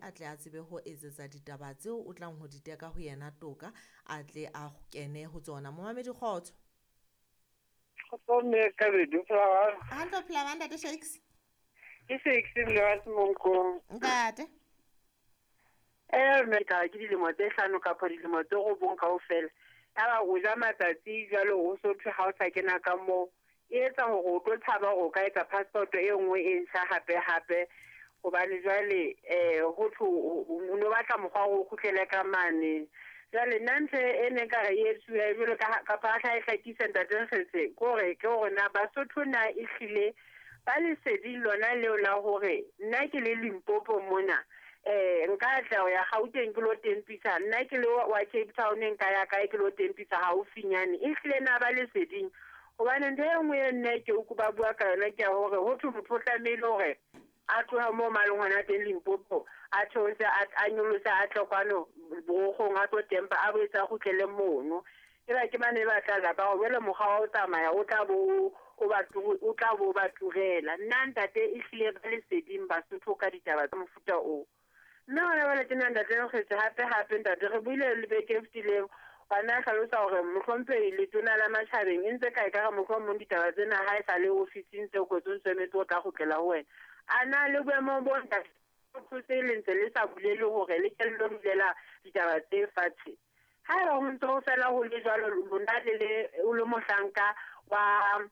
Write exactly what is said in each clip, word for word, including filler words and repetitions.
a tle a tsebe ho etsetsa ditaba tseo o tlang ho di teka ho yena toka, a tle a kene ho tsona. Momamedi, kgotso. Kgotso mme Kabedi, o phela jwang? Hantle, o phela jwang, Ntate Shakes? Ke Shakes mme wa Semonkong. Ntate. Eh mme ka ke dilemo tse hlano kapa dilemo tse robong kaofela. Yaba o ja matsatsi jwalo o so thwe ha o sa kena ka moo. E etsa hore o tlo tshaba hore o ka etsa passport e nngwe e ntjha hape hape. Hobane jwale eh ho thwe o no batla mokgwa wa hore o kgutlele ka mane. Jwale nna ntho e ne nka re e etsuwe jwalo ka kapa ha e hlakisa Ntate Nkgetse, ke hore ke hore na Basotho na ehlile ba leseding lona leo la hore nna ke le Limpopo mona, eh nka tla ho ya Gauteng ke lo tempisa, nna ke le wa Cape Town nka ya kae ke lo tempisa haufinyane. Ehlile na ba leseding? Hobane ntho e nngwe e nne ke utlwa ba bua ka yona ke ya hore ho thwe motho o tlamehile hore a tloha moo maleng hona teng Limpopo, a theose, a nyolose, a tle kwano Borokgong, a tlo tempa, a boetse a kgutlele mono. Eba ke bane ba tla lapa hore jwale mokgwa wa ho tsamaya o tla bo o ba o tla bo ba turela. Nna ntate ehlile ba leseding Basotho ka ditaba tsa mofuta oo. Mme hona jwale tjena Ntate Nkgetse, hape hape ntate re buile le beke e fetileng, bana a hlalosa hore mohlomphehi letona la matjhabeng e ntse ka ekare mohlomong ditaba tsena ha e sa le ofising tse kwetsweng ntse o tla kgutlela ho wena. A na le boemo bo ntate se le ntse le sa bulele hore le ke lo dulela ditaba tse fatshe. Haeba ho ntse ho fela ho le jwalo, lona le le o le mohlanka wa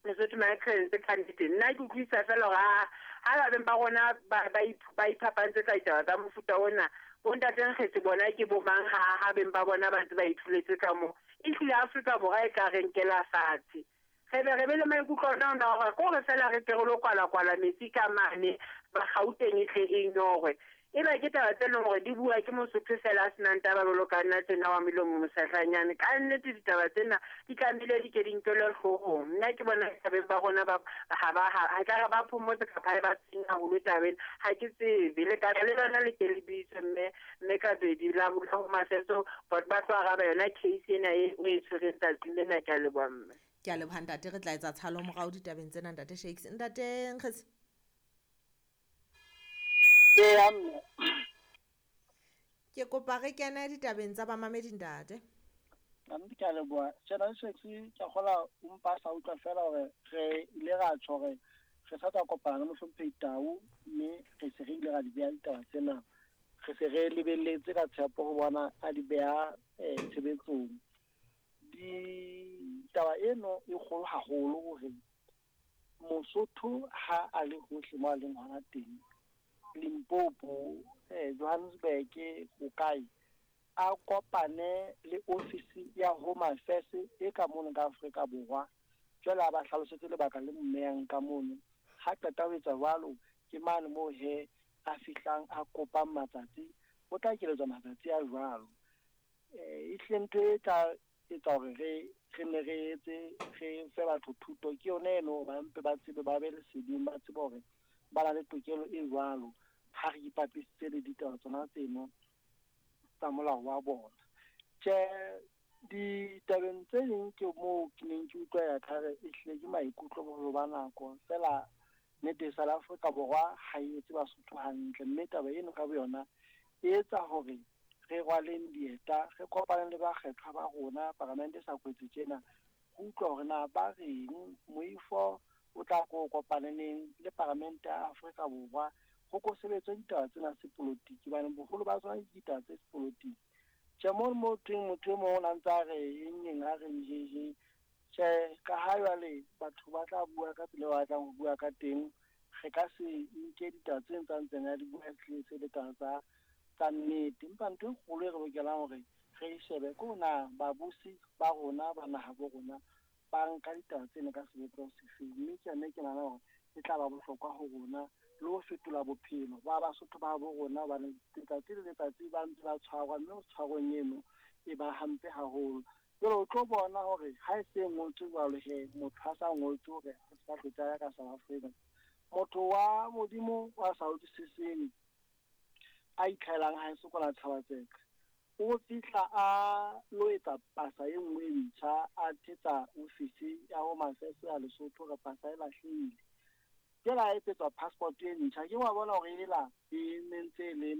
Lesotho Migrants ka nnete, nna ke utlwisisa fela hore ha ha ba beng ba rona ba ba iphapantse ka ditaba tsa mofuta ona, bo Ntate Nkgetse bona ke bo mang ha ha beng ba bona ba ntse ba ithuletse ka moo. Ehlile Afrika Borwa e tla re nkela fatshe. Re be re be le maikutlo ona ona hore ke hore fela re tle re lo kwala-kwala metsi ka mane, ba Gauteng e tle e nyorwe. Eba ke taba tse leng hore di bua ke Mosotho fela a senang taba jwalo ka nna tjena wa melomo mosahlanyane. Ka nnete ditaba tsena di tlamehile di ke di nkelwe hloohong. Nna ke bona tabeng ba rona ba ha ba ha ekare ba phomotse kapa ha ba tshwenye haholo tabeng, ha ke tsebe. Le ka le lona le ke le bitswe mme mme Kabedi la ho Mafeso ba tlo araba yona case ena e o e tshwereng tsatsing lena. Ke a leboha mme. Ke a leboha ntate, re tla etsa tshalo morao ditabeng tsena Ntate Shakes. Ntate Nkgetse. Ke kopa re kene ditabeng tsa bamamedi ntate. Nna ke a leboha. General Shakes, ke a kgola o mpa sa utlwa fela hore re ile ra tjho hore re sa tswa kopana le mohlomphehi Tau, mme re se re ile ra di beha ditaba tsena. Re se re lebelletse ka tshepo ho bona a di beha tshebetsong. Ditaba eno e kgolo haholo hore Mosotho ha a le hohle mo a leng hona teng, Limpopo, eh, Johannesburg, ho kae, a kopane le ofisi ya Home Affairs e ka mono ka Afrika Borwa. Jwale a ba hlalosetse lebaka le mmeyang ka mono. Ha qeta ho etsa jwalo, ke mane moo he a fihlang a kopang matsatsi, o tla keletswa matsatsi a jwalo. Eh, ehlile ntho e tla etsa hore re re ne re etse re fe batho thuto ke yona eno, ba mpe ba tsebe, ba be leseding, ba tsebe hore ba na le tokelo e jwalo ha re ipapisitse le ditaba tsona tseno tsa molao wa bona. Tjhe, ditabeng tse ding ke moo ke neng ke utlwa ya kare ehlile ke maikutlo boholo ba nako fela. Nnete South Africa Borwa ha e etse Basotho hantle, mme taba eno ka boyona e etsa hore re rwaleng dieta, re kopane le bakgethwa ba rona paramente e sa kwetse tjena, ho utlwa hore na ba reng. Moifo o tla ko kopaneng le paramente ya Afrika Borwa ho ko sebetswe ditaba tsena sepolotiki, hobane boholo ba tsona ke ditaba tse sepolotiki. Tjhe, mo mo thweng motho e mong o na ntse a re eng eng a reng jeje. Tjhe, ka ha jwale batho ba tla bua ka tsela eo ba batlang ho bua ka teng, re ka se nke ditaba tse ntseng ntseng a di bua ehlile se le taba tsa tsa nnete. Empa ntho e kgolo e re lokelang hore re e shebe ke hore na babusi ba rona ba naha bo rona ba nka ditaba tsena ka sebopeho sefeng, mme ke yona e ke nahana hore e tla ba bohlokwa ho rona le ho fetola bophelo ba Basotho ba bo rona, hobane letsatsi le letsatsi ba ntse ba tshwarwa, mme ho tshwarweng eno e ba hampe haholo. Jwale o tlo bona hore ha e se ngotswe jwalo he, motho ha sa ngotswe hore a se ka hlotse a ya ka South Africa. Motho wa Modimo wa sa utlwisiseng a itlhaelang ha e sokola Thabatseka, o fihla a lo etsa pasa e nngwe e ntjha, a thetsa ofisi ya Home Affairs ya Lesotho hore pasa e lahlehile. Jwale a etsetswa passport e ntjha, ke wa bona hore ela e ne ntse e le